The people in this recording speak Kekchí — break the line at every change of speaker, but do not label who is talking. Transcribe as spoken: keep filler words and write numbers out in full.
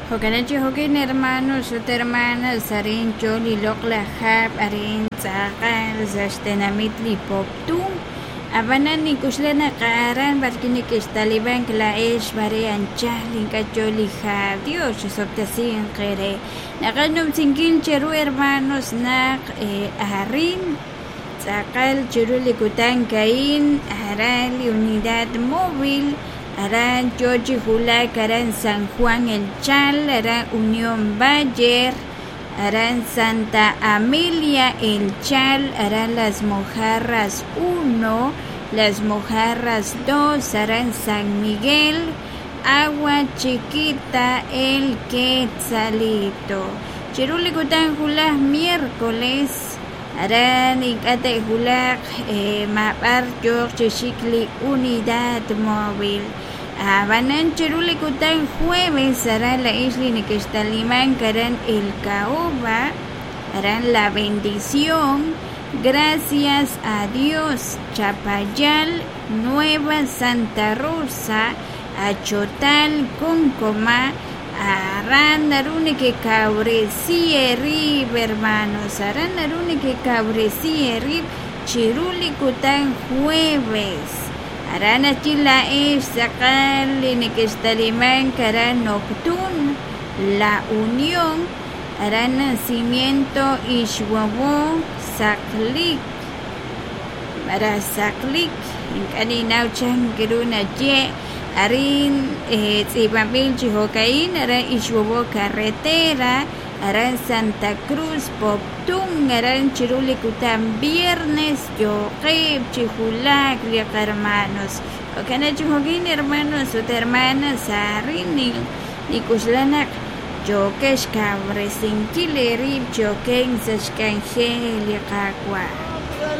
Jo'kan chi jo'kin hermanos ut hermanas arin yo li loq'laj hab' arin tz'aqal sa' xtenamit li Poptún ab'anan nink'uxla naq aran b'arwi' nekextalimank laa'ex mare anchal ink'a' yo li hab' Dios chisob'tesinq eere naqaj numsinkil cheru hermanos naq arin tz'aqal chiru li kutan a'in aran li unidad móvil aran yo chi wulak aran San Juan El Chal aran Unión Bayer aran Santa Amelia El Chal aran Las Mojarras uno Las Mojarras dos aran San Miguel Agua Chiquita El Quetzalito chiru li kutan wulaj miércoles aran ink'a' te'wulaq maab'ar yooq chi xik li unidad móvil ab'anan chiru li kutan jueves aran laa'ex li nekextalimank aran El Caoba aran La Bendición Gracias a Dios Chapayal Nueva Santa Rosa Achotal Concoma aran naru nekekawresi eerib hermanos aran naru nekekawresi eerib chiru li kutan jueves aran ajwi' laa'ex tz'aqal li nekextalimank aran Noctún La Unión aran Nacimiento Ixwowo Saqlik malaj Saqlik ink'a' ninnaw chan ru naye' arin tz'iib'anb'il chi jo'ka'in aran Ixwowo Carretera aran Santa Cruz Poptún aran chiru li kutan viernes yooqeb' chi wulak li qahermanos jo'kan chi jo'kin hermanos ut hermanas arin nik'uxla naq yookex xkawresinkil eerib' chi okenk sa' xk'anjel li Qaawa'.